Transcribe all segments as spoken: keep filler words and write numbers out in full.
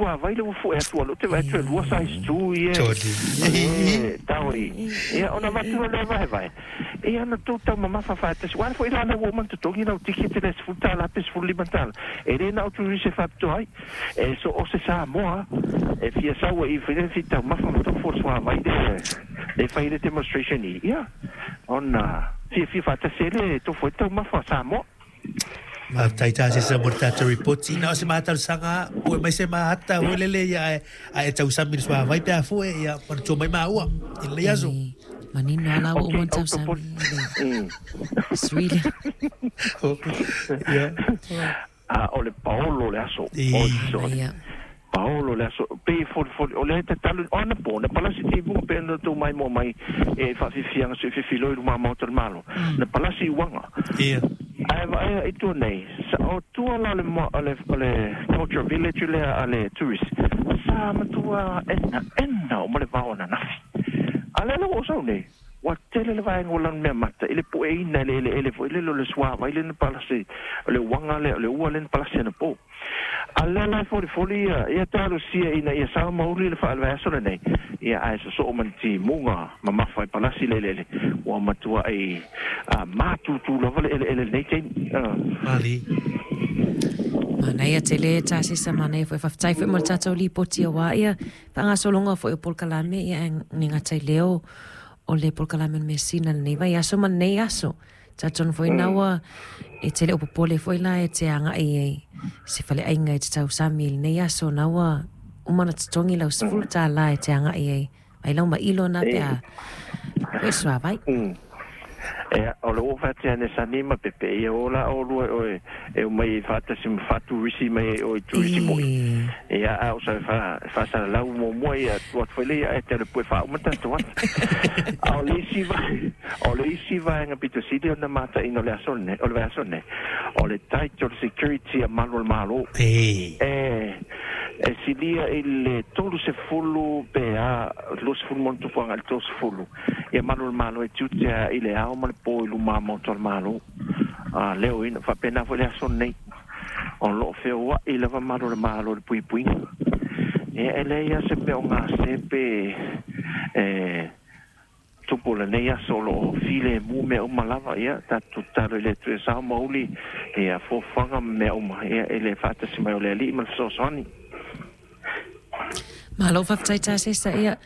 suavai le ua fo'e atu a loo te vaai atu e lua size two ia e tao i ia ona avatu loa lea vaevae ia na tou taumamafa faatasi ua ale fo'i la lea ua uma ona totogi lau tikete le sefulu tālā pe sefulu lima tālā e lē na o turisi e faapitoa ai e so o se Samoa e fia sau ai i le fia taumafa ma tofo o le suavai le le fai le demonstration i ia ona fiafia faatasi ai le tofo ai taumafa a Samoa. Faafetai Tasesa mo le tatou ripoti. Na o se matalosaga pue mai se mahata foi lele ia ae ae tausami i le suavai pe a fue ia manatua mai maua i lenei aso. E manino lava la ua Okay, uma ona au tausami popole. i Mm. le sui lea. Ia. A o le paolo o le aso. I. Oi sole. Manaia. Paolo le aso pe folifoli o lea e tatalo o anapo na palasi timuga pe ona tou maimoa mai e faafiafiaga soifefiloi i luma maota o le Malo na palasi i uaga Ia. ae vaaia i tua nei sa o tua la o le o le o le cultural village lea a le tourist sa matua ena ena uma le vao ananafi a lea la ua ou sau nei ua tele le vaega ua lanumeamata i le pueina e le eleele foi lele o le suavai lea na palasi o le uaga lea o le ua lea na palasi anapo. A lea la e folifoli ia ia talosia ina ia sao ma uli le faale-vaiaso lenei ia ae sosoo ma ni timuga mamafa e palasi le eleele ua matuai matutu lava le eleele i lenei taimi. Mali. Manaia tele Tasesa, manaia foi faafetai foi mo le tatou lipoti aua ia faagasologa foi o polokalame ia ae le gata i lea o le polokalame o le measina i lenei vaiaso ma lenei aso. Talitonu foi na ua e te le o popole foi la e te agai ai se faleaiga e te tausami i lenei aso na ua uma ona totogi lau sefulu tālā e te agai ai mai lau mailo na pe a koe suavai. Ea, o le ua faatea ane sani ma pepe ia o la olua oe e omai ai faatasi ma faaturisi mai ai oe i turisi moi. Ia, a o sa fa faasalalau muamua ia atu atu foi lea ia ae te alu pue faauma tatou ata. A o le isi vae o le isi vaega pito sili ona mataina o le aso lenei o le vaiaso lenei, o le tight o le security a malu o le Malo. E. E e silia i le tolu sefulu pe a luasefulu ma ona tupu agai i le tolusefulu ia malu o le Malo e tiute i le ao ma le po i luma maota o le Malo. A leo ina faapena foi le aso lenei o loo feoa'i lava malu o le Malo i le puipuiga. Ia e leai lava se mea o gase pe e tupu lenei aso o loo filemu mea uma lava. Ia tatou tatalo i le Atua ia sao ma uli ia fuafuaga ma mea uma ia i le faatasi mai o le Alii ma le fesoasoani. Malo faafetai Tasesa ia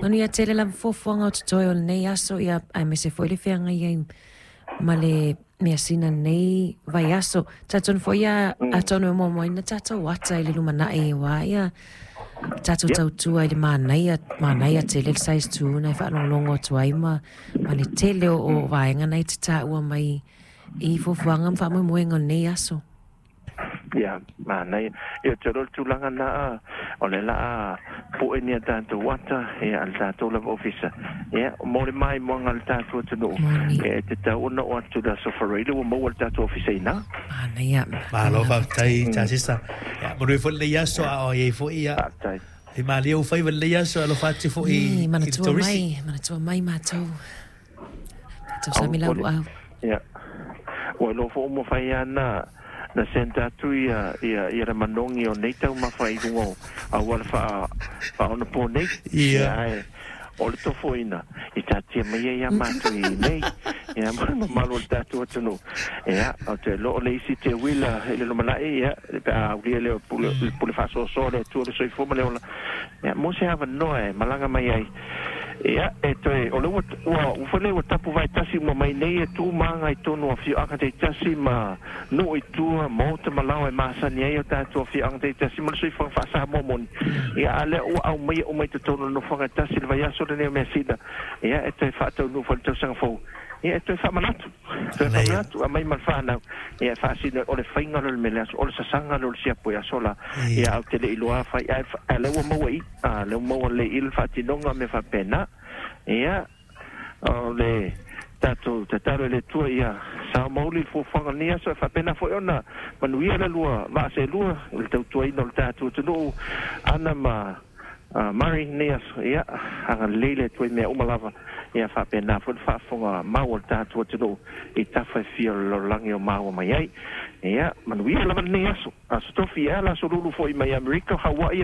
manuia tele lava fuafuaga o totoe o lenei aso ia aemaise foi le feagai ai ma le measina lenei vaiaso. Talitonu foi ia atonu e moamoaina tatou ata i le lumanai aua ia tatou tautua i le manaia, manaia tele le size two na e faalogologo atu ai ma ma le tele o o vaega na e te taua mai i fuafuaga ma faamoemoega o lenei aso. Ia, manaia. Ia, ou te iloa le tulaga lena, o le laa po'e ni a tatou ata, ia, a le tatou lava ofisa. Ia, mo le maimoaga a le tatou atunuu, ia, e tatau ona oo atu i le Aso Faraile ua maua le tatou ofisa i ina. Manaia. Malo faafetai Tasesa. Ia, manuia foi lenei aso a o i ai foi, ia. Faafetai. E malie ou faiva i lenei aso, alofa atu foi i i le manatua turisi. mai, manatua mai matou. Tatou sami lau luau. Ia, ua iloa foi ua mafai lava na na send atu ia ia ia le manogi o nei taumafa i luga o auala faa faaonapo nei. Ia. Ia ae o le tofoina i taatia mai ai ia matou i inei ia ma le mamalu o le tatou atunuu. Ia ou te iloa o le isi teuila i le lumanai ia pe a aulia lea o pule le pule faasoasoa a le Atua le soifua ma le ola ia mo se avanoa e malaga mai ai. Ia, e toe, o le ua, ua, ua foi lea ua tapu vaetasi uma mai nei e tu ma aga i tonu o afioaga taitasi ma nuu i tua, maota ma laoa e masani ai o tatou afioaga taitasi ma le soifuaga faa-Samoa moni. Ia, a lea ua aumaia uma i totonu o le nofoaga e tasi i le vaiaso lenei o Measina, ia, e toe faataunuu foi i le tausaga fou. Ia, e toe faamanatu, toe faamanatu, aumai ma le fanau, ia, e faasino, o le faiga lea o le mea i le aso, o le sasaga lea o le siapo i aso la, ia, ae ou te le i iloa afai, ae, ae o lea ua maua i i, a, lea ua maua lelei i i le faatinoga ma mea faapena. Ia, o le tatou tatalo i le Atua ia sao mauli le fuafuaga o lenei aso, e faapena foi ona manuia le lua vaa seelua i le tautuaina o le tatou atunuu, Ana ma Murray lenei aso, ia, agalelei le Atua i mea uma lava, ia faapena foi le faafofoga mau a le tatou atunuu i tafa e fia o le lalolagi o maua mai ai. Ia, manuia lava lenei aso, Aso Tofi, ia, le Aso Lulu foi mai Amerika, o Hawaii,